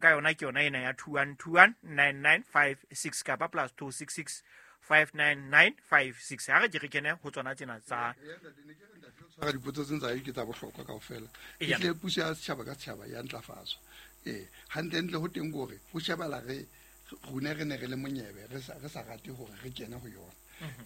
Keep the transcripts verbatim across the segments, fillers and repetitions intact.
Ka yona ke yona ena ya two one two one nine nine five six kapa plus two six six five nine nine five six. Ha re ke re kene ho tsona tsena tsa tshwara dipotso tse tsa ke tsa bohlokwa kaofela. Eya. Ehlile puso ya setjhaba ka setjhaba ya ntlafatswa. Ee, hantlentle ho teng kore ho shebala re rona re ne re le monyebe, re sa re sa rate hore re kene ho yona.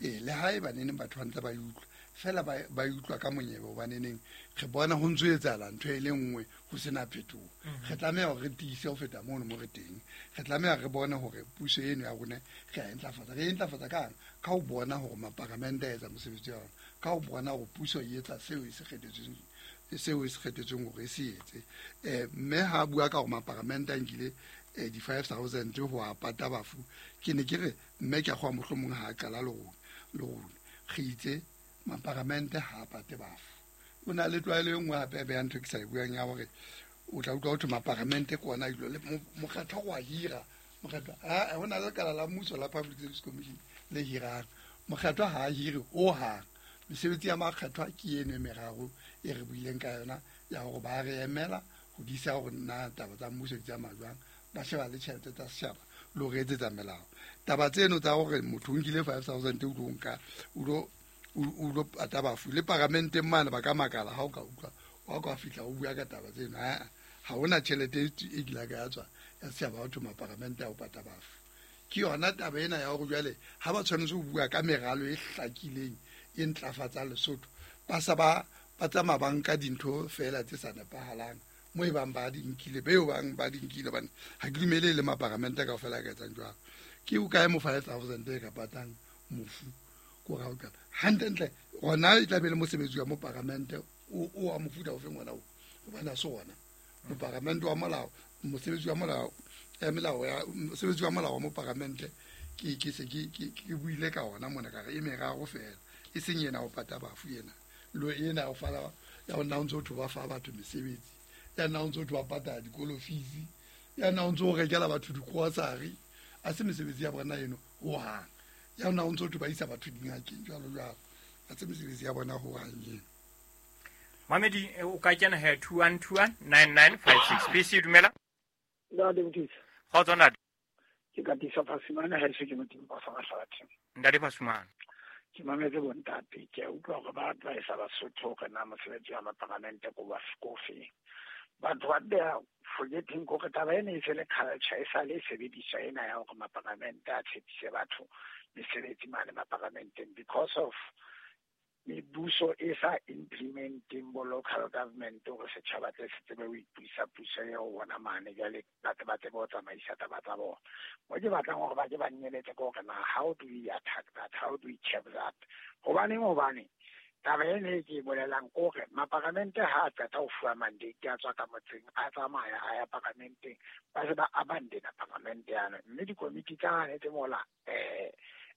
Ee, le ha eba neneng batho ba ntse ba e utlwa fela, ba ba e utlwa ka monyebe, hobaneneng re bona ho ntso etsahala ntho e le nngwe, ho sena phetoho. Re tlameha hore re tiise ho feta mono mo re teng. Re tlameha re bone hore puso eno ya rona re a e ntlafatsa. Re e ntlafatsa kang? Ka ho bona hore maparamente a etsa mosebetsi wa yona, ka ho bona hore puso e etsa seo e se kgethetsweng, seo e se kgethetsweng hore e se etse. Eh, mme ha bua ka hore maparamente a nkile eh, di-five thousand ho a pata bafu, ke ne ke re mme ke a kgowa mohlomong ha a qala le rona, le rona re itse maparamente ha a pate bafu. O na le tlwaelo e nngwe hape ya ntho e ke sa e buang ya hore o tla utlwa ho thwe maparamente ke ona a ilo le mo-, mokgatlo wa hira. Mokgatlo, ha, ho na le lekala la mmuso la Public Service Commission le hirang. Mokgatlo ha a hire hohang. Mesebetsi ya makgetho ke eno e meraro e re buileng ka yona ya hore ba re emela ho disa hore na taba tsa mmuso di tsamaya jwang, ba sheba le tjhelete tsa setjhaba le ho re etsetsa melao. Taba tseno tsa hore motho o nkile five thousand o tlo nka, o lo, o, o lo pata bafu, le paramenteng mane ba ka makala ha o ka utlwa, wa ka fihla o bua ka taba tseno. Ha, ha hona tjhelete e e kileng ya tswa ya setjhaba ho thwe maparamente a ho pata bafu. Ke yona taba ena ya hore jwale ha ba tshwanetse ho bua ka meralo e hlakileng e ntlafatsang Lesotho, ba sa ba, ba tsamaya ba nka dintho feela tse sa nepahalang mo e bang ba di nkile, beo bang ba di nkile, hobane ha ke dumele le maparamente kaofela a ka etsang jwalo. Ke o kae mo five thousand e ka patang mofu? Ko ra o qala. Hantlentle hona e tla be le mosebetsi wa moparamente o, o wa mofuta ofeng ona o, hobane ha se ona moparamente wa molao, mosebetsi wa molao, ya melao ya mosebetsi wa molao wa moparamente ke, ke se ke, ke, ke buile ka ona mona ka re e meraro feela, e seng ena ho pata bafu ena, lo ena ho fala ya ho nna o ntso thwe ba fa batho mesebetsi, ya nna o ntso thwe ba patala dikolo fees, ya nna o ntso o rekela batho di-grocery, a se mesebetsi ya bona eno hohang, ya nna o ntso thwe ba isa batho dingakeng jwalo jwalo, a se mesebetsi ya bona hohang eno. Mamedi, eh, o ka kena he two one two one nine nine five six. P C, dumela. Ntate Motisa. Kgotso ntate. Ke Katiso Phasumane, ha eso ke Modimo ba sa Mahlathi. Ntate Phasumane. Ke mametse bontate, ke a utlwa hore ba advise Basotho hore na mosebetsi wa maparamente ko wa feng. But what they are forgetting hore taba ena e se le culture, e sale e sebediswa ena ya hore maparamente a tshepise batho mesebetsi mane maparamenteng because of mebuso e sa implementing bo local government hore setjhaba tle se tsebe ho ipusa puso eo bona mane, jwale ba tle ba tsebe ho tsamaisa taba tsa bona. Mo ke batlang hore ba ke ba nnyeletse ke hore na how do we attack that, how do we check that? Hobaneng, hobane taba ena e ke e bolelang ke hore maparamente ha a qeta ho fuwa mandate a tswa ka motseng, a tsamaya a ya paramenteng, ba se ba abandona paramente yane, mme dikomiti tsa hane tse mola, eh,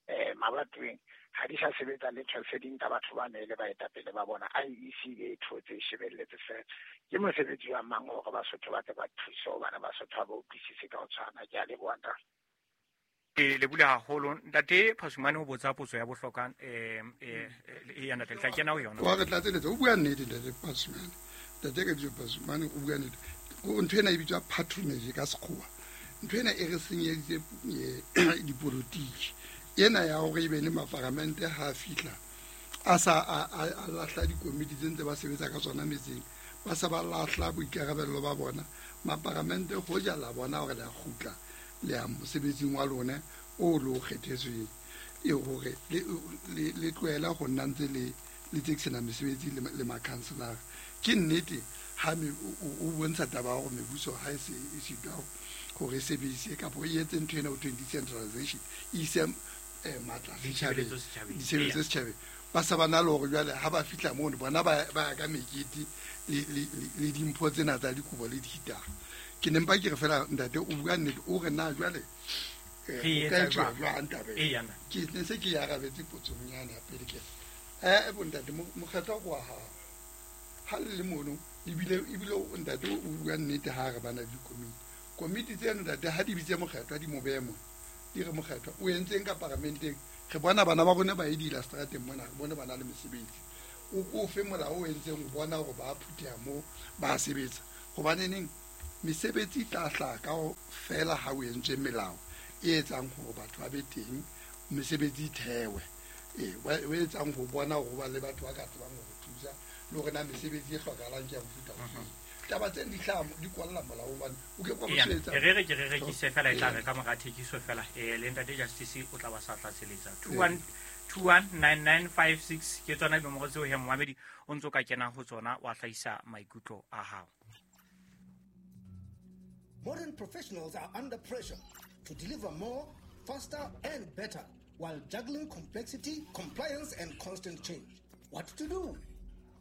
eh, mabatoweng ha di sa sebetsa letho, se di nka batho ba ne le baetapele ba bona. I E C e thotse e shebelletse fela. Ke mosebetsi wa mang hore Basotho ba tle ba thuse, hobane Basotho ha ba utlwisise ka ho tshwana. Ke a leboha ntate. Ke lebohile haholo ntate Phasumane ho botsa potso ya bohlokwa, eh, eh, eh, ya ntate, le tla kena ho yona. Wa re tlatseletsa, o bua nnete ntate Phasumane. Ntate ka bitso Phasumane o bua nnete. Ko ntho ena e bitswa patronage ka sekgowa. Ntho ena e re senyeditse, eh, dipolotiki. Ena ya hore ebe le maparamente ha a fihla a sa a, a, a lahla dikomiti tse ntse ba sebetsa ka tsona metseng, ba sa ba lahla boikarabello ba bona. Maparamente hoja la bona hore le a kgutla le ya mosebetsing wa lona o lo kgethetsweng, e hore le, le, le tlohela ho nna ntse le, le tsekisana mesebetsi le, le makhanselara. Ke nnete ha me, o, o, o bontsha taba ya hore mebuso ha e se e sitwa hore e sebedise kapa e etse ntho ena ho thweng decentralization, e ise, eh, matla setjhabeng, Ditshebeletso setjhabeng. ditshebeletso Eya. setjhabeng. Ba sa ba na le hore jwale ha ba fihla mono bona ba, ba ya ka mekete le, le, le, le dimpho tsena tsa dikobo le dihitara. Ke ne mpa ke re fela ntate o bua nnete, o re na jwale, eh, Re o ka etsa etsuwa jwang? jwang taba ena? Eya, nna. Ke ne se ke e arabetse potsong yane ya pele ke re, eh, bontate, mo-, mokgatlo wa hao ha le le mono, ebile, ebile o ntate o bua nnete ha re bana le dikomiti. Komiti tseno ntate ha di bitse mokgatlo, ha di mo behe mona, di re mokgatlo o entseng ka paramenteng? Re bona bana ba rona ba e dila strateng mona, re bone ba na le mesebetsi. O ko fe molao o entseng ho bona hore ba phutheha moo ba sebetsa. Hobaneneng Mesebetsi e tla hlaha ka ho fela ha o entswe melao e etsang hore batho ba be teng, mesebetsi e thewe. Ee, o etsang ho bona hore ho ba le batho ba ka tsebang ho thusa le hore na mesebetsi e hlokahalang ke ya mofuta ofe. Taba tseno di hlaha di kwalla molao hobane o ke kwa mosebetsi. Re re ke re rekise fela e tla re ka mora thekiso fela. Eh le ntate Justice o tla ba sa tlatseletsa. two one two one nine nine five six ke tsona dinomoro tseo he momamedi o ntso ka kena ho tsona wa hlahisa maikutlo a hao. Modern professionals are under pressure to deliver more, faster and better while juggling complexity, compliance and constant change. What to do?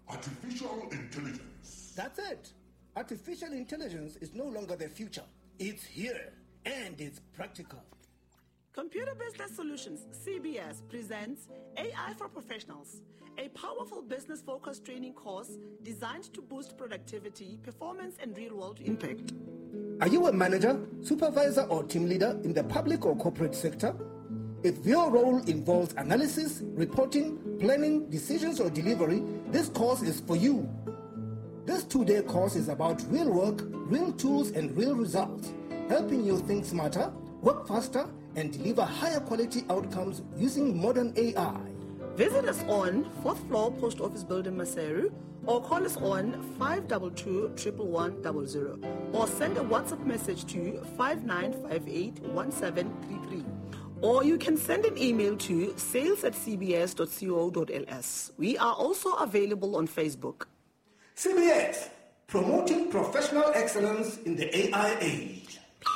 Artificial intelligence. That's it. Artificial intelligence is no longer the future. It's here and it's practical. Computer Business Solutions, C B S, presents A I for Professionals, a powerful business-focused training course designed to boost productivity, performance, and real-world impact. Are you a manager, supervisor, or team leader in the public or corporate sector? If your role involves analysis, reporting, planning, decisions, or delivery, this course is for you. This two-day course is about real work, real tools, and real results, helping you think smarter, work faster, and deliver higher quality outcomes using modern A I. Visit us on fourth floor Post Office Building, Maseru, or call us on five two two, one one one zero zero, or send a WhatsApp message to five nine five eight one seven three three. Or you can send an email to sales at c b s dot co dot l s. We are also available on Facebook. C B S, promoting professional excellence in the A I age.